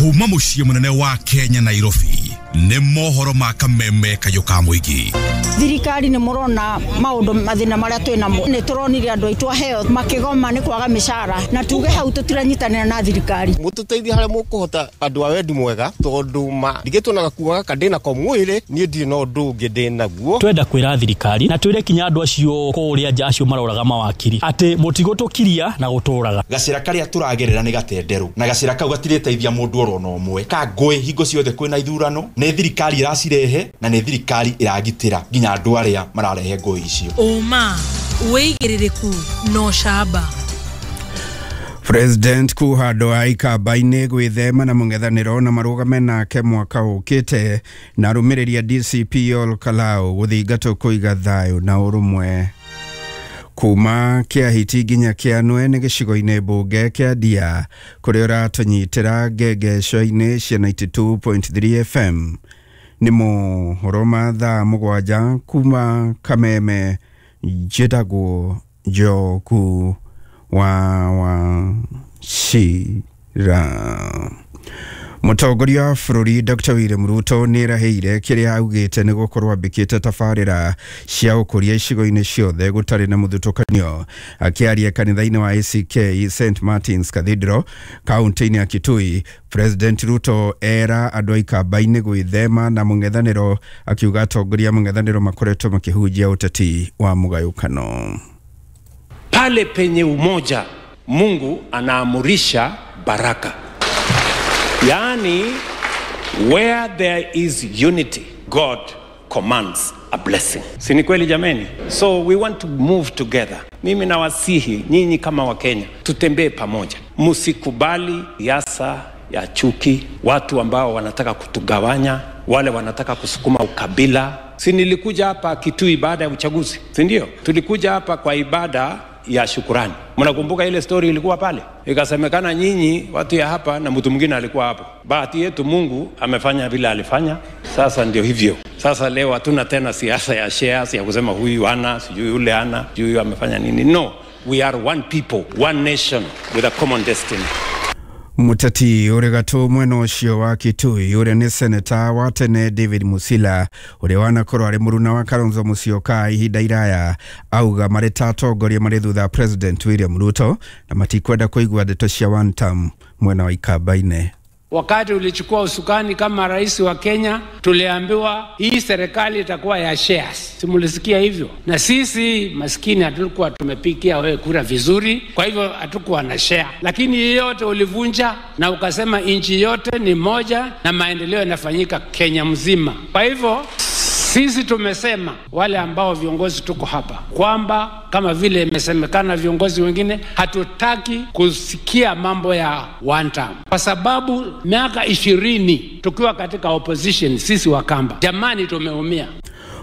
Kuma mũciĩ mũnene wa Kenya Nairobi nĩ mohoro ma kameme kayũ ka mũingĩ. Thirikari nĩ mũrona maũndũ mathĩna marĩa twĩ namo, nĩ tũronire andũ aitũ aheo makĩgoma nĩ kwaga mĩcara, na tuge hau tũtiranyitanĩra na thirikari. Mũtũteithie harĩa mũkũhota andũ a wendi mwega, tondũ ma ndigĩtwo na gakuo gaka ndĩ nako mwĩrĩ, niĩ ndirĩ na ũndũ ũngĩ ndĩ naguo. Twenda kwĩra thirikari na twĩre kinya andũ acio kũrĩa nja acio maroraga mawakiri atĩ mũtigũtũkiria na gũtũraga. Gacĩra karĩa tũragerera nĩ gatenderũ, na gacĩra kau gatirĩteithia mũndũ oro na ũmwe. Ka ngũĩ hingo ciothe kwĩna ithurano, nĩ thirikari ĩracirehe na nĩ thirikari ĩragitĩra nginya andũ arĩa mararehe ngũĩ icio. Ũma, wĩigĩrĩrĩku na ũcamba. President kuhandwo a ikamba-inĩ gwĩthema na mũng'ethanĩro na marũgame nake mwaka ũkĩte, na arũmĩrĩri a DCP Ol Kalou gũthingatwo kũiga thayũ na ũrũmwe. Kuma Kĩahiti nginya Kĩanwe nĩ gĩcigo-inĩ mbunge kĩa Ndia kũrĩa ũratũnyitĩra ngengeco-inĩ cia 92.3 FM. Nĩ mohoro ma thaa 7 kuma Kameme, njĩtagwo Njoku wa Wachira. Mũtongoria wa bũrũri Dr. William Ruto nĩ erahĩire kĩrĩa augĩte nĩ gũkorwo ambĩkĩte tabarĩra cia ũkũria icigo-inĩ ciothe gũtarĩ na mũthutũkanio. Akĩaria kanitha-inĩ wa ACK St Martin's Cathedral kaunti-inĩ ya Kitui, President Ruto era andũ a ikamba-inĩ gwĩthema na mũng'ethanĩro, akiuga atongoria a mũng'ethanĩro makoretwo makĩhunjia ũteti wa mũgayũkano. Pale penye umoja, Mungu anaamurisha baraka. Yaani, where there is unity, God commands a blessing. Si ni kweli jameni? So we want to move together. Mimi nawasihi nyinyi kama Wakenya, tutembee pamoja. Msikubali siasa ya chuki, watu ambao wanataka kutugawanya, wale wanataka kusukuma ukabila. Si nilikuja hapa Kitui baada ya uchaguzi, si ndio? Tulikuja hapa kwa ibada ya shukurani. Mnakumbuka ile story ilikuwa pale? Ikasemekana nyinyi watu ya hapa na mtu mwingine alikuwa hapo. Bahati yetu Mungu amefanya vile alifanya. Sasa ndio hivyo. Sasa leo hatuna tena siasa ya shares ya kusema huyu ana, sijui yule ana, sijui huyu amefanya nini. No, we are one people, one nation with a common destiny. Mũteti ũrĩ gatũ mwena ũcio wa Kitui ũrĩa nĩ seneta wa tene David Musila ũrĩa wanakorwo arĩ mũruna wa Kalonzo Musyoka ihinda iraya auga marĩ ta atongoria marĩ thutha President William Ruto na matikwenda kũigua ndeto cia one term mwena wa ikamba-inĩ. Wakati ulichukua usukani kama rais wa Kenya, tuliambiwa hii serikali itakuwa ya shares. Simulisikia hivyo? Na sisi maskini hatukuwa tumepikia wewe kura vizuri, kwa hivyo hatukuwa na share. Lakini yote ulivunja na ukasema nchi yote ni moja na maendeleo yanafanyika Kenya mzima. Kwa hivyo sisi tumesema wale ambao viongozi tuko hapa kwamba kama vile imesemekana viongozi wengine, hatutaki kusikia mambo ya one term, kwa sababu miaka 20 tukiwa katika opposition sisi Wakamba, jamani, tumeumia.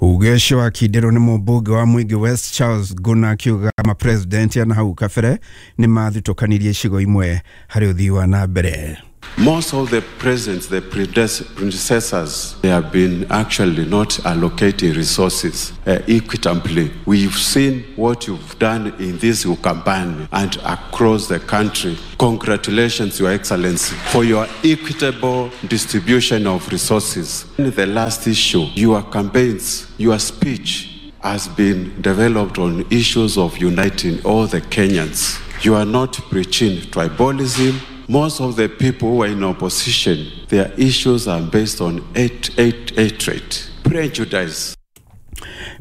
Uge ũcio wakindĩrwo nĩ mũmbunge wa Mwingi West Charles Guna akiuga mapresident na hau kabere nĩ mathutũkanirie icigo imwe harĩ ũthii wa na mbere. Most of the presidents, the predecessors, they have been actually not allocating resources equitably. We've seen what you've done in this Ukambani and across the country. Congratulations, Your Excellency, for your equitable distribution of resources. In the last issue, your campaigns, your speech has been developed on issues of uniting all the Kenyans. You are not preaching tribalism. Most of the people who are in opposition, their issues are based on hatred, prejudice.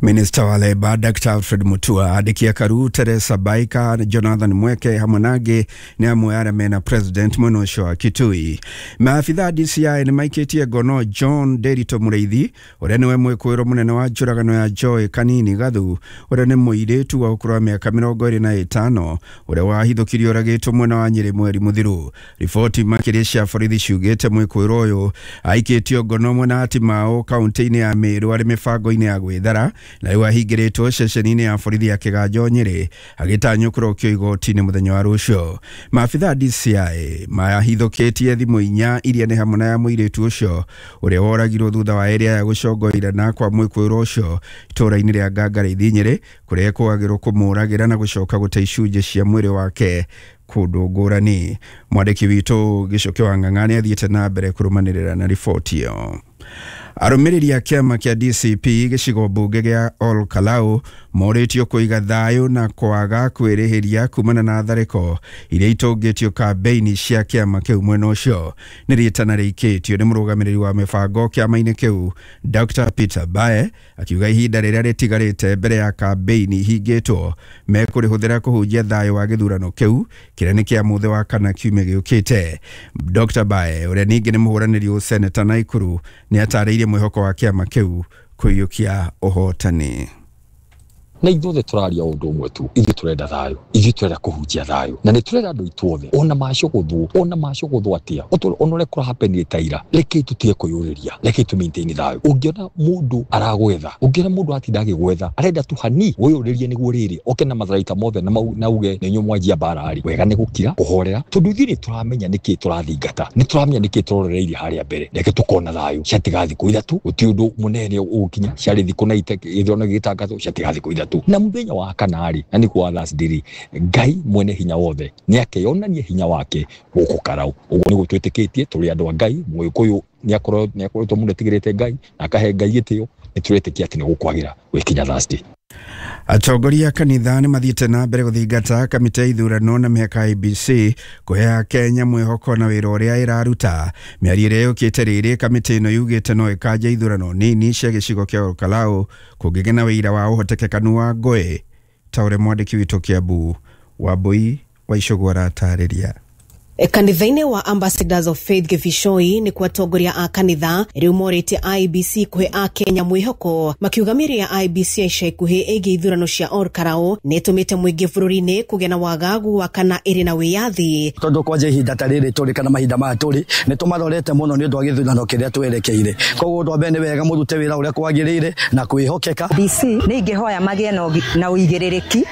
Minista wa Leba Dr. Alfred Mutua andĩki a Karu Teresa Baika Jonathan Mweke hamwe na angĩ nĩ amwe arĩa mena president mwena ũcio wa Kitui. Maabitha DCI nĩ maikĩtie ngono John Derito Mũrĩithi ũrĩa nĩwe mwĩkũĩrwo mũnene wa njũragano ya Joy Kanini Gathu ũrĩa nĩ mũirĩtu wa ũkũrũ wa mĩaka 25 ũrĩa wahithũkirio oragĩtwo mwena wa Nyĩrĩ mweri mũthiru. Riboti makĩria cia borithi ciugĩte mwĩkũĩrwo ũyũ aikĩtio ngono mwena wa Timau kaunti-inĩ ya Meru arĩ mĩbango-inĩ ya gwĩthara na rĩu ahingĩrĩtwo ceceni-inĩ ya borithi ya Kĩganjo Nyĩrĩ agĩtanywo kũrokio igoti-inĩ mũthenya wa rũciũ. Maabitha DCI mahithũkĩtie thimũ 4 iria nĩ hamwe na ya mũirĩtu ũcio ũrĩa woragirwo thutha wa area ya gũcongoirana kwa mwĩkũĩrwo ũcio itũũra-inĩ rĩa Ngangarĩithi Nyĩrĩ kũrĩa ekũagĩrwo kũmũragĩra na gũcoka gũte icunjĩ cia mwĩrĩ wake kũndũ ngũrani. Mwandĩki witũ Gĩcũkĩ wa Ng'ang'a nĩ athiĩte na mbere kũrũmanĩrĩra na riboti ĩyo. Arũmĩrĩri a kĩama kĩa DCP gĩcigo mbunge gĩa Ol Kalou morĩtio kũiga thayũ na kwaga kwĩrĩhĩria kumana na tharĩko iria itũngĩtio kambeini cia kĩama kĩu mwena ũcio. Nĩ rĩtana rĩikĩtio nĩ mũrũgamĩrĩri wa mĩbango kĩama-inĩ kĩu Dr. Peter Bae akiuga ihinda rĩrĩa rĩtigarĩte mbere ya kambeini ihingĩtwo mekũrĩhũthĩra kũhunjia thayũ wa gĩthurano kĩu kĩrĩa nĩ kĩa mũthĩ wa kana kiumia gĩũkĩte. Dr. Bae ũrĩa ningĩ nĩ mũhũranĩri ũseneta Naikuru nĩ atarĩirie mwĩhoko wa kĩama kĩu kũiyũkia ũhotani. Na ithuothe tũraria ũndũ ũmwe tu, ithuĩ tũrenda thayũ, ithuĩ tũrenda kũhunjia thayũ, na nĩ tũrenda andũ aitũ othe, ona macũgũthwo atĩa, ona ũrĩa kũrahapenire ta ira, rekei tũtige kwĩyũrĩria, rekei tũ maintain thayũ. Ũngĩona mũndũ aragwetha, ũngĩona mũndũ atinda agĩgwetha, arenda tu hani wĩyũrĩrie nĩguo rĩrĩ oke na matharaita mothe na uge nĩ inyuĩ mwanjia mbara rĩ, wega nĩ gũkira kũhorera, tondũ ithuĩ nĩ tũramenya nĩkĩ tũrathingata, nĩ tũramenya nĩkĩ tũrorereirie harĩa mbere. Reke tũkona thayũ, ciatiga thikũ ithatũ, gũtirĩ ũndũ mũnene ũgũkinya, ciarĩ thikũ na gĩthurano gĩgĩtangathwo, ciatiga thikũ ithatũ. Na muthenya wa kana rĩ, na nĩkuo wa Thursday rĩ, Ngai mwene hinya wothe nĩ akeyonania hinya wake gũkũ Karau. Ũguo nĩguo twĩtĩkĩtie, tũrĩ andũ a Ngai. Mũgĩkũyũ nĩ akoretwo mũno etigĩrĩte Ngai na akahe Ngai gĩtĩo, nĩ tũretĩkia atĩ nĩ gũkwagĩra gwĩkinya Thursday. Atongoria a kanitha nĩ mathiĩte na mbere gũthingata kamĩtĩ ya ithurano na mĩhaka IEBC kũhe Kenya mwĩhoko na wĩra ũrĩa ĩraruta. Mĩario ĩrĩa yũkĩte rĩrĩ kamĩtĩ ĩno yugĩte no ĩkanja ithurano nini cia gĩcigo kĩa Olkalau kũngĩgĩa na wĩira wa ũhotekekanu wa ngũĩ, ta ũrĩa mwandĩki witũ Kĩambu Wambui wa Icũgũ aratarĩria. Kanitha-inĩ wa Ambassadors of Faith Gĩbicoi nĩ kwa atongoria a kanitha rĩu morĩtie IEBC kũhe akenya mwĩhoko, makiuga mĩario ya IEBC ya ica ikuhĩ ĩgiĩ ithurano cia Ol Kalou nĩ ĩtũmĩte mũingĩ bũrũri-inĩ kũgĩa na wagagu wa kana ĩrĩ na wĩyathi. Tondũ kwanja ihinda ta rĩrĩ tũrĩ kana mahinda maya tũrĩ nĩ tũmarorete mũno nĩ ũndũ wa gĩthurano kĩrĩa twerekeire, koguo ũndũ wa mbere nĩ wega mũrute wĩra ũrĩa kwagĩrĩire na kwĩhokeka. DC nĩ ingĩhoya magĩe na ũigĩrĩrĩki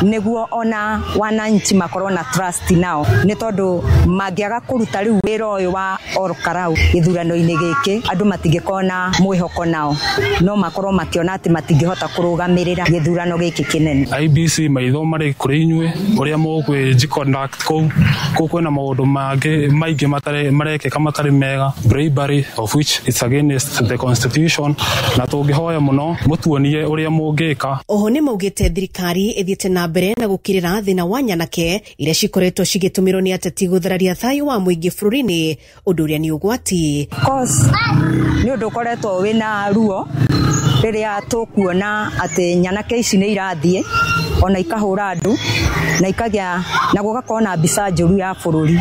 nĩguo ona wananchi makorwo na trust nao, nĩ tondũ mangĩaga kũruta rĩu wĩra ũyũ wa Ol Kalou gĩthurano-inĩ gĩkĩ, andũ matingĩkorwo na mwĩhoko nao, no makorwo makĩona atĩ matingĩhota kũrũgamĩrĩra gĩthurano gĩkĩ kĩnene. IEBC maitho marĩ kũrĩ inyuĩ ũrĩa mũkwĩji conduct kũu kũu kwĩna maũndũ mangĩ maingĩ matarĩ marekĩka matarĩ mega, bribery of which it's against the constitution, na tũngĩhoya mũno mũtuonie ũrĩa mũngĩka. Oho nĩ maugĩte thirikari ĩthiĩte na mbere na gũkirĩra thĩna wa nyanake iria cikoretwo cigĩtũmĩrwo nĩ ateti gũthararia thayũ wa mũingĩ bũrũri-inĩ, ũndũ ũrĩa nĩ ũgwati. Cause nĩ ũndũ ũkoretwo wĩna ruo rĩrĩa tũkuona atĩ nyanake ici nĩ irathiĩ ona ikahũra andũ na ikagĩa na gũgakorwo na mbica njũru ya bũrũri.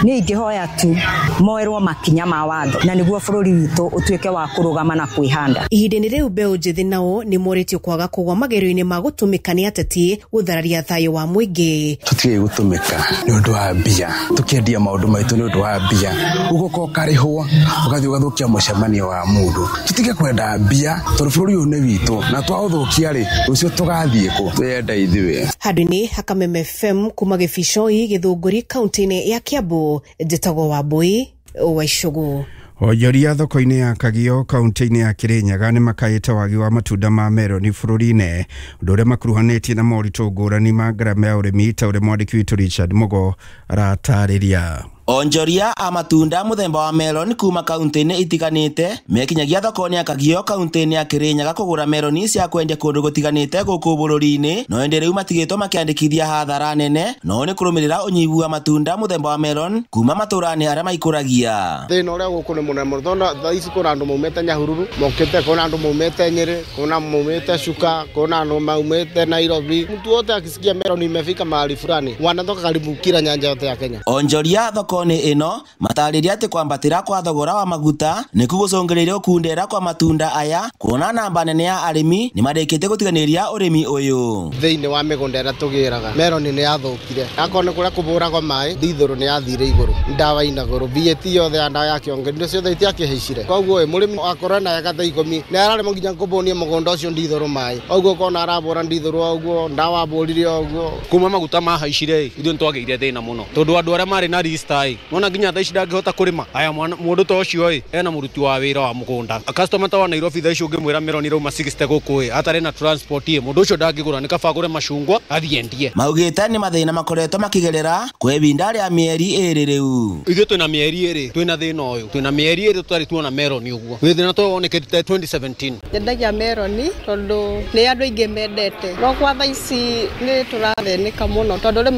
Niĩ ingĩhoya tu moerwo makinya ma watho na nĩguo bũrũri witũ ũtuĩke wa kũrũgama na kwĩhanda. Ihinda-inĩ rĩu mbeũ njĩthĩ nao nĩ morĩtio kwaga kũgwa magerio-inĩ ma gũtũmĩka nĩ ateti gũthararia thayũ wa mũingĩ. Tũtige gũtũmĩka nĩ ũndũ wa mbia, tũkĩendia maũndũ maitũ nĩ ũndũ wa mbia, ũgoka ũkarĩhwo ũgathiĩ ũgathũkia mũcemanio wa mũndũ. Tũtige kwenda mbia tondũ bũrũri ũyũ nĩ witũ na twaũthũkia rĩ, rũciũ tũgathiĩ kũ? Twĩyenda ithuĩ. Handũ-inĩ ha Kameme FM kuma Gĩbicoi Gĩthũngũri kaunti-inĩ ya Kiambu, njĩtagwo Wambui wa Icũgũ. Onjoria thoko-inĩ ya Kagio kaunti-inĩ ya Kirinyaga nĩ makaĩte wagi wa matunda ma meroni bũrũri-inĩ, ũndũ ũrĩa makuruhanĩtie na moritũ ngũrani ma ngarama ya ũrĩmi, ta ũrĩa mwandĩki witũ Richard Mugo aratarĩria. Onjoria a matunda mũthemba wa melon kuma kaunti-inĩ itiganĩte mekinyagia thoko-inĩ ya Kagio kaunti-inĩ ya Kirinyaga kũgũra meloni cia kwendia kũndũ gũtiganĩte gũkũ bũrũri-inĩ, no ĩndĩ rĩu matigĩtwo makĩandĩkithia hathara nene no nĩ kũrũmĩrĩra ũnyihu wa matunda mũthemba wa melon kuma matũra-inĩ arĩa maikũragia. Thĩna ũrĩa gũkũ nĩ mũnene mũno, tondũ thaa ici kwĩna andũ maumĩte Nyahururu mokĩte, kwĩna andũ maumĩte Nyĩrĩ, kwĩna maumĩte Chuka, kwĩna andũ maumĩte Nairobi. Mtu wote akisikia melon imefika mahali fulani wanatoka karibu kila nyanja yote ya Kenya. Onjoria thoko-inĩ ĩno matarĩria atĩ kwambatĩra kwa thogora wa maguta nĩkuo gũcũngĩrĩirie gũkundera kwa matunda aya, kuona namba nene ya arĩmi nĩmarĩkĩtie gũtiganĩria ũrĩmi ũyũ. Thĩinĩ wa mĩgũnda ĩrĩa tũgĩraga melon nĩ yathũkire, akorwo nĩ kũrĩa kũbũragwo maĩ ndithũrũ nĩ yathire igũrũ, ndawa ina goro, VAT yothe ya ndawa ya kĩongo indo ciothe itiakĩhaicire, koguo mũrĩmi akorwo na eka thaa 10 nĩ araremwo nginya kũbũnia mũgũnda ũcio ndithũrũ maĩ, ũguo ũkona arabũra ndithũrũ ũguo ndawa abũrire ũguo. Kuma maguta mahaicire ithuĩ nĩtwagĩire thĩna mũno tondũ andũ arĩa marĩ na rista ĩ, nona nginya thaa ici ndangĩhota kũrĩma. Aya, mũndũ ta ũcio ĩ, ena mũruti wa wĩra wa mũgũnda. Customer ta wa Nairobi thaa ici ũngĩmwĩra meroni irauma 60 gũkũ ĩ, atarĩ na transport ĩ, mũndũ ũcio ndangĩgũra, nĩ kaba agũre macungwa athiĩ endie. Maugĩte nĩ mathĩna makoretwo makĩgerera kwa ihinda rĩa mĩeri 2 rĩu. Ithuĩ twĩna mĩeri 2 twĩna thĩna ũyũ, twĩna mĩeri 2 tũtarĩ tuona meroni ũguo. Thĩna ta ũyũ wonekete 2017. Nyendagia meroni tondũ nĩ andũ aingĩ mendete, no kwa thaa ici nĩ tũrathĩnĩka mũno tondũ rĩmwe